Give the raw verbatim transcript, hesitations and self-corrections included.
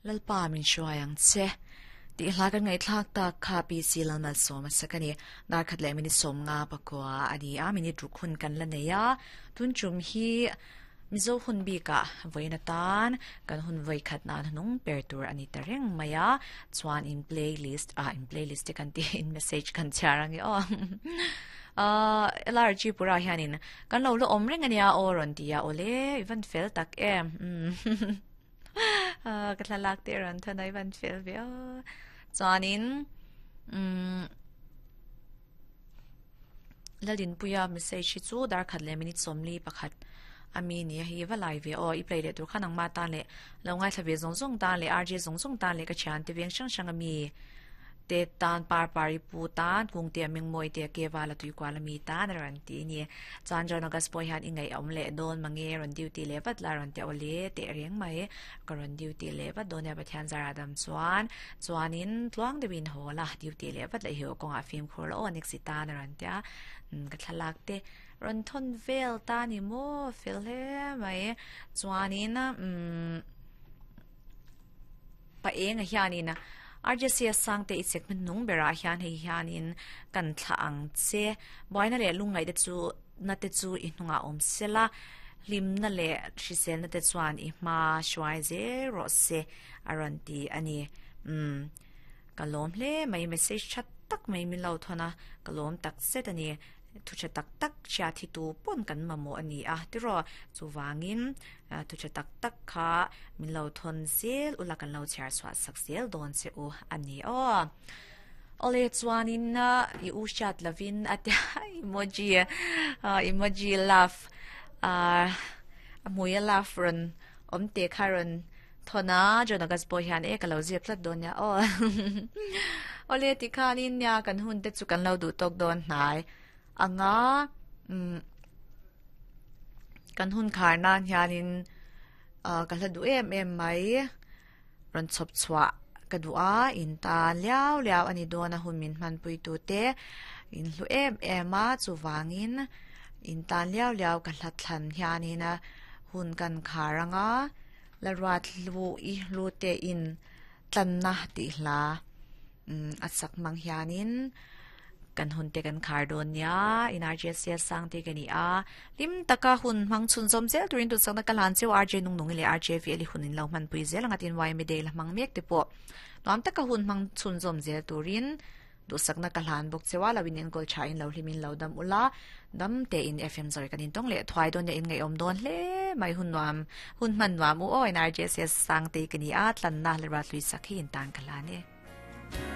Lalpa min hruai ang che ti hla kan ngai thlak tak kha P C Lalmal sawm a sakani dar khat le minute sawm nga pakua ani a minute ruk hun kan la nei a tun chum hi mizo hun bika voina tan kan hun voi khat nan nung per tur ani ta reng maya chuan in playlist a in playlist te kan ti in message kan charangi o uh L R G pura hianin kan lo lo om reng ania o ron tia ole ivan fel tak em ah ka thlalak te ron thanai van fel ve o chuanin um lalin puya message hi chu dar khat le minute somli pakhat ami ni hi walai ve o i play le tur khanang ma ta le lo ngai thlawe zong zong ta le R J zong zong ta le ka chan te veng sang sang ami te tan par pari pu tan kung te ming moi te ke wala tui kwa la mi ta na ran ti ni chan jon august poi han ingai om le don mange ron duty le wat la ron te ole te reng mai ka ron duty le wat don ya pathian zara dam chuan chuanin tluang de win hola duty le wat le hi ko nga film khur o nek si ta na ron tia ka thalak te ron thon vel ta ni mo fel he mai chuanin um pa eng hianin R J C S sang te i segment nung bera hian hei hianin kan thla ang che boina le lungai te chu na te chu i hnunga om sela lim na le hrisel na te chuan i hma hruai ze ro se aran ti ani um kalom hle mai message chat tak mai min lo thona kalom tak set ani thu cha tak tak cha thi tu pon kan mamo ani a tiro chuwangin thu cha tak tak kha min lo thon zel ula kan lo chhar chwa sak zel don che u ani o ole chuanin na i u chat lavin atia emoji emoji laugh a amuya laugh run om te kharon thona jonagas bo hian e ka lo zep tlat don ya o ole ti khanin nya kan hun te chu kan lo du tok don hnai anga um kan hun khar nan hianin ka hla du em em mai ron chop chwa ka dua in ta liao liao ani dona hun min man pui tu te in hlu em em a chuwangin in ta liao liao ka hla thlan hianin hun kan kharanga la rat lu i lu te in tlan na ti hla um atsak mang hianin kan hun te kan khar don ya in R J C S sang te kani a lim taka hun mang chun zom zel turin tu sang na kalan cheu R J nung nung le R J V li hunin lo man pui zel angatin Y me de la mang mek te po nom taka hun mang chun zom zel turin du sak na kalan bok chewa lawin en gol cha in lo hlimin lo dam ula dam te in F M zoi kanin tong le thwai don ya in ngai om don hle mai hun nuam hun man nuam u o in R J C S sang te kani a tlan na le rat lui sakhi in tan kalane.